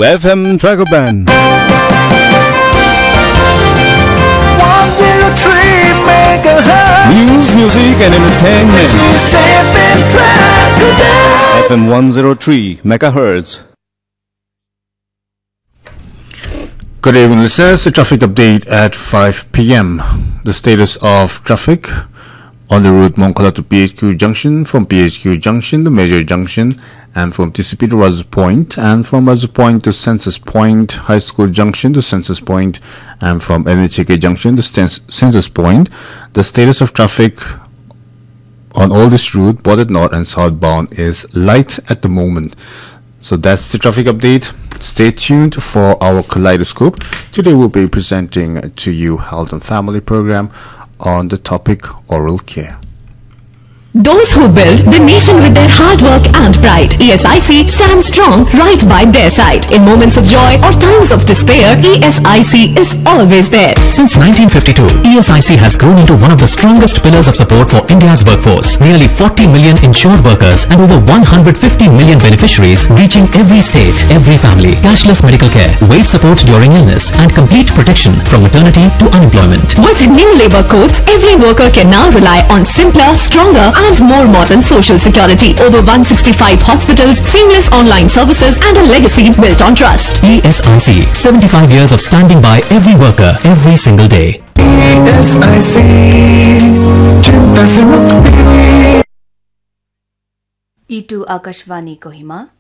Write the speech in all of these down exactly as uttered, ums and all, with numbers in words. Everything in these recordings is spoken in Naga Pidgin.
F M Dragoban. One zero three megahertz. News, music, and entertainment. This is F M Dragoban. F M one zero three megahertz. Good evening, listeners. The traffic update at five p m. The status of traffic on the route Monkhola to P H Q junction, from P H Q junction to Major junction, and from T C P to Razu Point, and from Razu Point to Census Point, High School junction to Census Point, and from N H A K junction to Cens- Census Point. The status of traffic on all this route, both at north and southbound, is light at the moment. So that's the traffic update. Stay tuned for our Kaleidoscope. Today we'll be presenting to you health and family program on the topic oral care. Those who build the nation with their hard work and pride, E S I C stands strong right by their side. In moments of joy or times of despair, E S I C is always there. Since nineteen fifty-two, E S I C has grown into one of the strongest pillars of support for India's workforce. Nearly forty million insured workers and over one hundred fifty million beneficiaries, reaching every state, every family. Cashless medical care, wage support during illness, and complete protection from maternity to unemployment. With new labor codes, every worker can now rely on simpler, stronger, and more modern social security. Over one sixty-five hospitals, seamless online services, and a legacy built on trust. E S I C, seventy-five years of standing by every worker, every single day. E S I C, chinta se mukti. Itu Akashvani Kohima.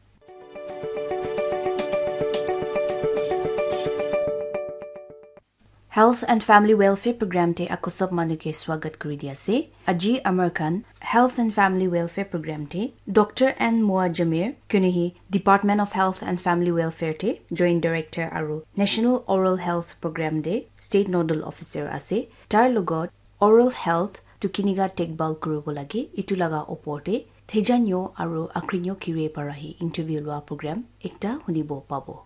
Health and Family Welfare Program te ako sob manu ke swagat kuri di ase. Aji amar khan Health and Family Welfare Program te Doctor N Moa Jamir, kuni hi Department of Health and Family Welfare te Joint Director aru National Oral Health Program te State Nodal Officer ase. Tar logot oral health tu kiniga tekbal kuribo lage, itu laga opor te thejanyo aru akrinyo kire para hi interview lua program ekta hunibo pabo.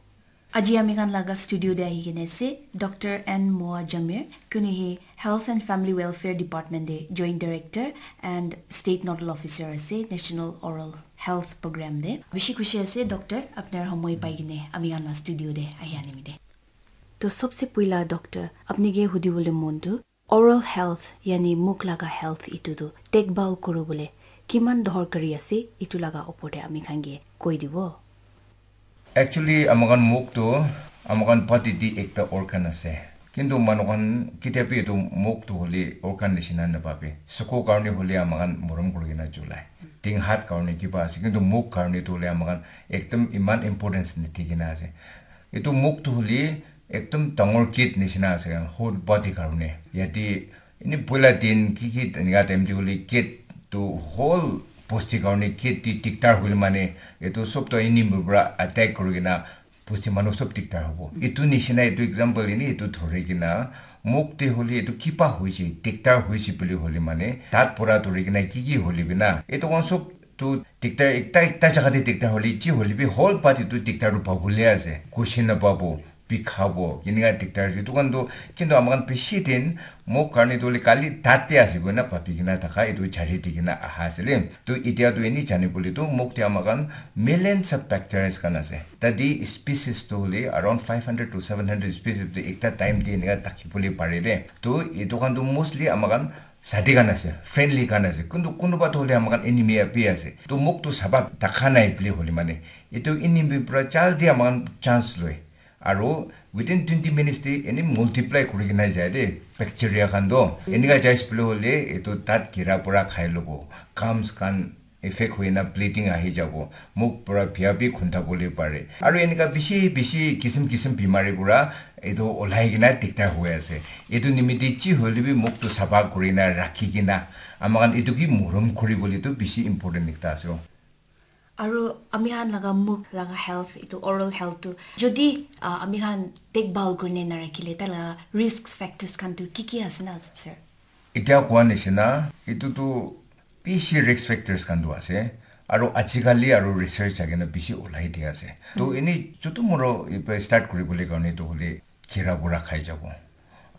Aji ami khan laga studio te ahi kene ase Doctor N Moa Jamir, kuni hi Health and Family Welfare Department te Joint Director and State Nodal Officer ase National Oral Health Program te. Bishi khushi ase Doctor, apnar homoi pai kene ami khan la studio te ahi animi te. To sobse puila Doctor, apni ke hudi bole mon tu, oral health, yani muk laga health itu tu dekbal kuru bole kiman dohor kari ase, itu laga opor te ami khan ke koi dibo. Actually, amakan muk tu, amakan body di ekta organ ase. Kintu manu khan kitia bi itu muk tu holi organ nishina napabe. Suku karne holi amakan morom kuri kena julai. Ting hat karne kiba ase. Kintu muk karne tu holi amakan ekdom iman importance ni thikena ase. Itu muk tu holi ekdom dangor gate nishina ase, whole body karne. Yate ini boila din ki ki enika time te holi gate tu whole bosti karne gate te diktar hole mane, itu sob to enemy para attack kuri kena bosti manu sob diktar hobo. Itu nishina itu example ini itu dhori kena muk te holi itu kiba hoise, diktar hoise buli hole mane, dat pura dhori kena ki ki hole bina, itu khan sob tu diktar ekta, ekta jaga te diktar hole, ji hole bi whole body tu diktar tu pabole ase, khushi na pabo, bikhabo, enika diktar ase. Itu khan tu, kintu amakhan bishi din, muk karne tu hole kali dat te ase koina pabi kena thaka, itu jari di kena aha ase le. Tu itia tu ini jani bole tu, muk te amakhan millions of bacteria khan ase. Tadi species tu hole around five hundred to seven hundred species tu ekta time te enika thaki bole pare de. Tu itu khan tu mostly amakhan sadi khan ase, friendly khan ase, kuntu kunuba tu hole amakhan enemy api ase. Tu muk tu sabak dakha nai bili hole mane, itu enemy pura jaldi amakhan chance loi. Aru within twenty minutes te eni multiply kuri kena jai de, bacteria khan do. Enika jai bili hole itu dat kira pura khai lobo. Gums khan effect hoina bleeding ahi jabo, muk pura bia bi khunda bole pare. Aru enika bishi, bishi kisim kisim bimari pura etu olai kena diktar hoi ase. Etu nimite ji hoile bi muk tu sapha kuri na rakhi kena, amakhan etu ki morom kuri bole tu bishi important ekta ase. Aru ami khan laga muk laga health, etu oral health tu jodi, ah, ami khan dekbhal kuri na narakhile, tai laga risk factors khan tu ki ki ase na, sir? Etia koa nishina, etu tu bishi risk factors khan tu ase, aru ajikali aru research thaki na bishi olai dia ase. To eni chutu muro ipa start kuri bole karne to hole kira pura khai jabo.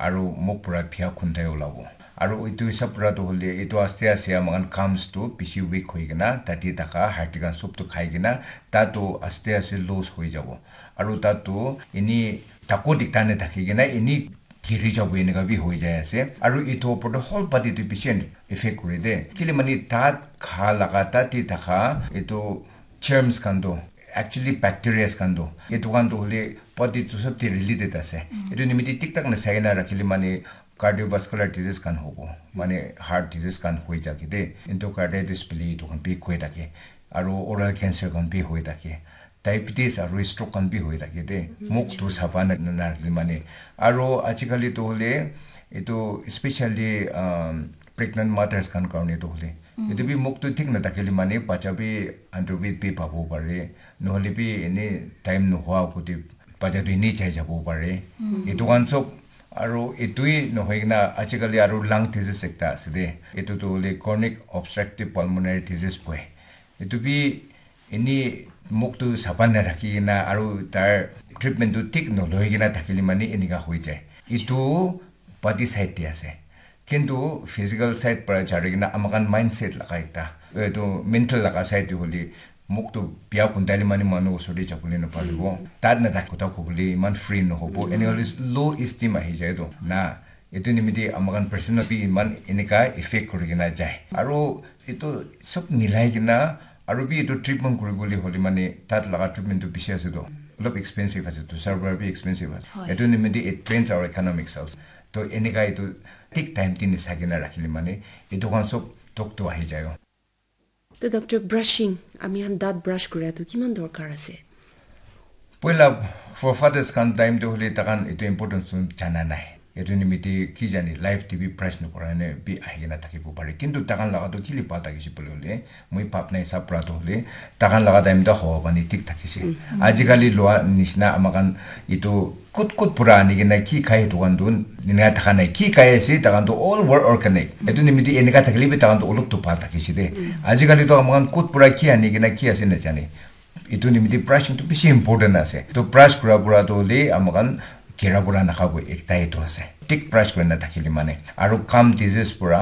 aru muk pura bia khun tai olabo. Aru etu hisab pura tu hoile etu aste aste ama khan gums tu bishi weak hoi kena tate thaka hardi khan sob tu khai kena ta tu aste aste loose hoi jabo. Aru ta tu ini tako dikta ne thaki kena ini giri jabo enika bi hoi jai ase. Aru etu opor te whole body tu bishi effect kore de. Kile mane tat kha laga tate thaka etu germs khan tu actually bacteria khan tu etu khan tu hoile body tu sob te related ase. Etu nimite thik thak na sai na rakhile mane cardiovascular disease khan hobo, mane heart disease khan hoi thake de, endocarditis bili etu khan bi hoi thake, aru oral cancer khan bi hoi thake, diabetes aru stroke khan bi hoi thake de, muk tu sapa na na rakhile mane. Aru ajikali tu hoile etu especially um, pregnant mothers khan karone tu hoile etu bi muk tu thik na thakile mane bacha bi underweight bi pabo pare, nohole bi ene time nohoa kote bacha tu ene chai jabo pare. Etu khan sob aru etui nohoi kena ajikali aru lung disease ekta ase de. Etu tu hoile chronic obstructive pulmonary disease koi. Etu bi ene muk tu sapa na rakhi kena aru tar treatment tu thik noloi kena thakile mane enika hoi jai. Etu body side te ase. Kintu physical side para jari kena ama khan mindset laga ekta, etu mental laga side te hoile muk tu bia khundai le mane manu osor te jabole na paribo. Tat na thaki kotha kobole iman free na hobo. Ene hoile low esteem ahi jai to. Na, etu nimite ama khan personal bi iman enika effect kuri kena jai. Aru etu sob milai kena aru bi etu treatment kuri bole hoile mane tat laga treatment tu bishi ase to. Olop expensive ase to, server bi expensive ase. Etu nimite it drains our economics also. To enika etu thik time te nisai kena rakhile mane etu khan sob thok to ahi jai. To doctor, brushing, ami khan daat brush kura tu kiman dorkar ase? Poila forefathers khan time te hoile takhan etu importance tu jana nai. Etu nimite ki jani life te bi brush nokura ne bi ahi kena thakibo pare. Kintu takhan laga tu kile bhal thakise bole hoile moi bhab na hisab para tu hoile takhan laga time te hawa pani thik thakise. Ajikali lua nishina ama khan etu kut kut pura ani kena ki khai etu khan tu nina thaka nai, ki khai ase takhan tu all were organic. Etu nimite enika thakile bi takhan tu olop tu bhal thakise de. Ajikali tu ama khan kut pura ki ani kena ki ase na jane. Etu nimite brushing tu bishi important ase. To brush kura pura tu hoile ama khan kera pura nakha bo ekta etu ase. Thik brush kuri na thakile mane aru gum disease pura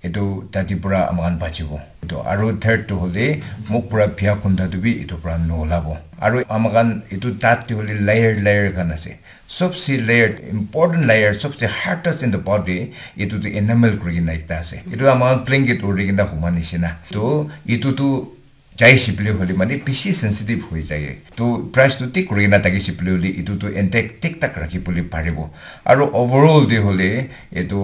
etu tate pura ama khan bachibo. Etu aru third tu hoile muk pura bia khunda tu bi etu pura nolabo. Aru ama khan etu tat te hoile layer layer khan ase. Sobse layer, important layer, sobse hardest in the body, etu tu enamel kuri kena ekta ase. Etu ama khan blanket uri kena huma nishina. To etu tu jai shibli hoile mane bishi sensitive hoi jai. To brush tu thik kuri kena thaki shibli hoile etu tu intact thik thak rakhi bole paribo. Aru overall de hoile etu